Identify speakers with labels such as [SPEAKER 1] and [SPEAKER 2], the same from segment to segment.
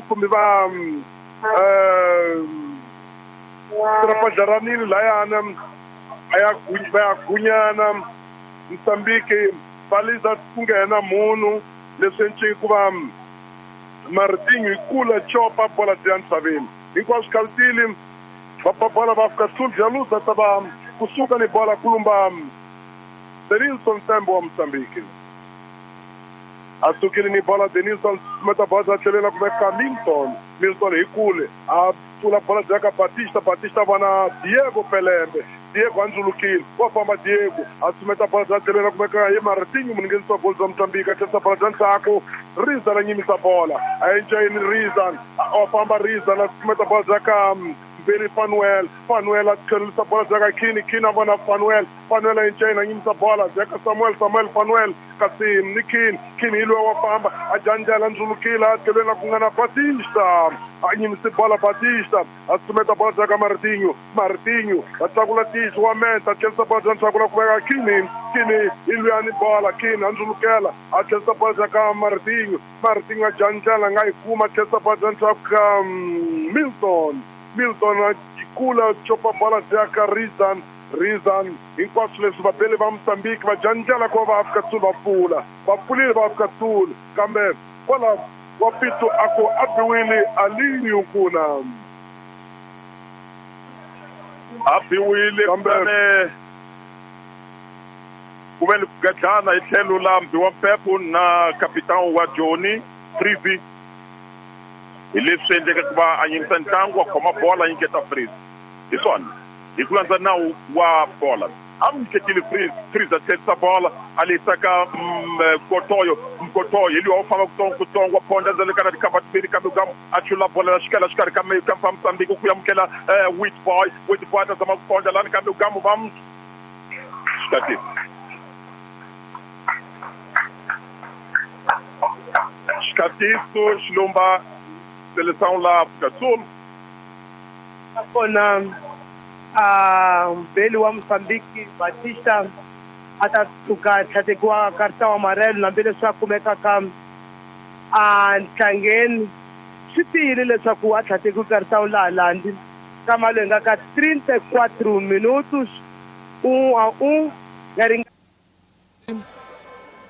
[SPEAKER 1] Kumbe va tirapadaranile layana a ya va ya gunyana Mozambique va liza ku nghena munhu leswi enciki ku va Martinho hi kula copa bola bya ntshaveni hinkwaswo khalutile va ba bola va fika Sul Jaluza ta va kusuka ni bola kulumba Denilson Tembo wa Mozambique a sukile ni bola Denilson meta bola a tlhelela ku veka Milton. Milton hi kule a pfula bola bya ka Batista. Batista vona Diego Pelembe. Diego a ndzulukile wa famba Diego a sumeta bola bya tlhelela ku veka hi Martinho muninghenisi wa goli bya Mozambique a tlherisa bola bya ndzhaku. Rizan a nyimisa bola a encayini Rizan wa famba Rizan a sumeta bola bya ka Mbeli Fanuel. Fanuel a tlherisa bola bya ka Kini. Kini a vona Fanuel. Fanuel a encayini a nyimisa bola bya ka Samuel. Samuel Fanuel kasi ni Kini. Kini hi luya wa famba a janjela ndzulukile a tlhelweni ku nga na Batista a nyimise bola Batista a sumeta bola bya ka Martinho. Martinho a tlakula tihlo wa menta a tlherisa bola bya ndzhaku la ku veka Kini. Kini hi luya ni bola Kini a ndzulukela a tlherisa bola bya ka Martinho. Martinho a janjela a nga yi kuma a tlherisa bola bya ndzhaku ka Milton. Milton a kula copa bola bya ka Rizan. Rizan hinkwaswo leswi vabeli va Mozambique va janjela ku va Afrika Sul va pfula va pfulile va Afrika Sul kambe kwala wa Pito a ku a biwile Alinho kuna
[SPEAKER 2] a biwile
[SPEAKER 1] Kambe-
[SPEAKER 2] kambe ku ve ni ku gadlana hi tlhelo la Mbiwa Mpepo na kapitani wa Joni Freezy hi leswi endleke ku va a yimisa ntlangu wa khoma bola a nyiketa Freezy hi swona hi ku landza nawu wa bola a mi nyiketile Freezy. Freezy a tlherisa bola a lehisa ka Mkotoyo. Mkotoyo hi luya wo famba kutsongo kutsongo wa phonda ndzele ka na tikhamba timbirhi kambe ka a chula bola la xikela xikarhi ka ka mfa Mozambique ku amukela Witboy. Witboy a ta zama ku phonda lani kambe gamu va xikatisi. Xikatiso xilumba seleção la África Sul.
[SPEAKER 3] Nakona a mbeli wa Mozambique Batista a ta tshuka tlhatekiwa karta wa marelo hambileswi a kumekaka a ntlangeni swi tiyile leswaku a tlhatekiwe karta laha landi kama loyi nga ka 34 minutos 1-1 ya ringa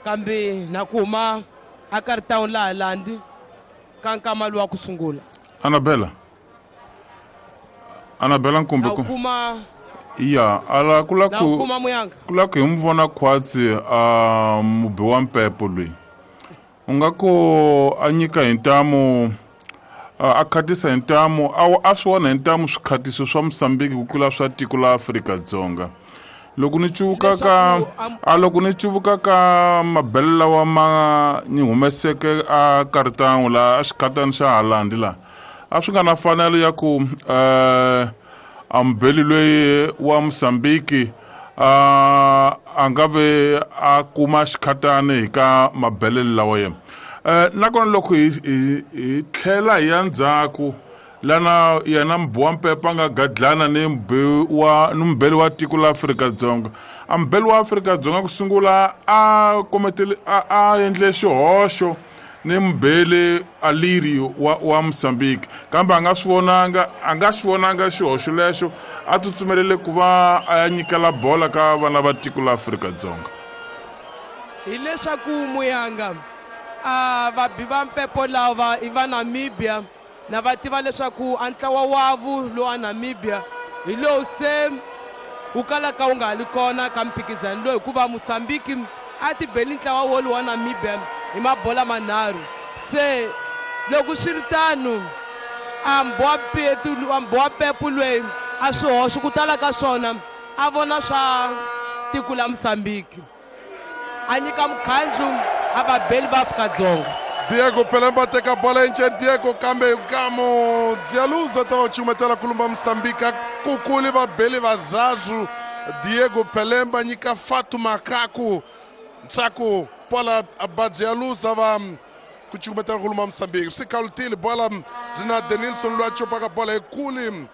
[SPEAKER 4] kambe na ku huma a karta laha landi ka nkama lowa ku sungula.
[SPEAKER 5] Anabela Anabela Nkumbi
[SPEAKER 4] Na ku kuma
[SPEAKER 5] ya ala kula
[SPEAKER 4] na
[SPEAKER 5] ku
[SPEAKER 4] kuma muyanga
[SPEAKER 5] kula ku hi mu vona khwatsi a mubi wa mpepo loyi u nga ku a nyika hi ntamu a khatisa hi ntamu a swi vona hi ntamu swikhatiso swa Mozambique ku tlula swa tiko la Afrika-Dzonga. Loko ni cuvuka ka a loko ni cuvuka ka mabele lawa ma ni humeseke a kartangu la a xikhatani xa Holland la a swi nga na fanelo ya ku a mubeli loyi wa Mozambique a nga ve a kuma xikhatani hi ka mabele lawa yena. Nakona loko hi tlhela hi ya ndzhaku lana yena mubi wa mpepo a nga gadlana ni ni mubeli wa tiko la Afrika-Dzonga. A mubeli wa Afrika-Dzonga ku sungula a kometele a endle xihoxo ni mubeli Aliri wa Mozambique kambe a nga swi vonanga xihoxo lexo a tsutsumelele ku va a ya nyikela bola ka vana va tiko la Afrika-Dzonga.
[SPEAKER 4] Hileswaku muyanga a vabi va mpepo lava i va Namibia na va tiva leswaku a ntlawa wavu lowa Namibia hi lowu se wu kalaka wu nga ha li kona ka mphikizano lowu hikuva Mozambique a ti beli ntlawa wolowu wa Namibia hi mabola manharhu. Se loko swi ri tano a mbowa pepu loyi a swihoxo ku tala ka swona a vona swa tiko la Mozambique a nyika mukhandlu a vabeli va Afrika-Dzonga.
[SPEAKER 6] Diego Pelemba teka bola nje Diego kambe kamo Dzialuza ta va cumetela kulumba Mozambique kukuli vabeli va Zazu. Diego Pelemba nyika Fatu Makaku ntsako bola ba Dzialuza va ku cumetela kulumba Mozambique. Swi khalutile bola byi na Denilson loyi a copaka bola ekule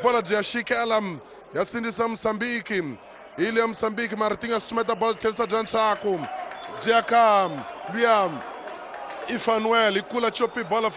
[SPEAKER 6] bola byi ya xikela ya sindzisa Mozambique. Ile ya Mozambique Martinho a sumeta bola tlherisa bya ntsako byi ya ka luya Ifanuel ikula chopi bola.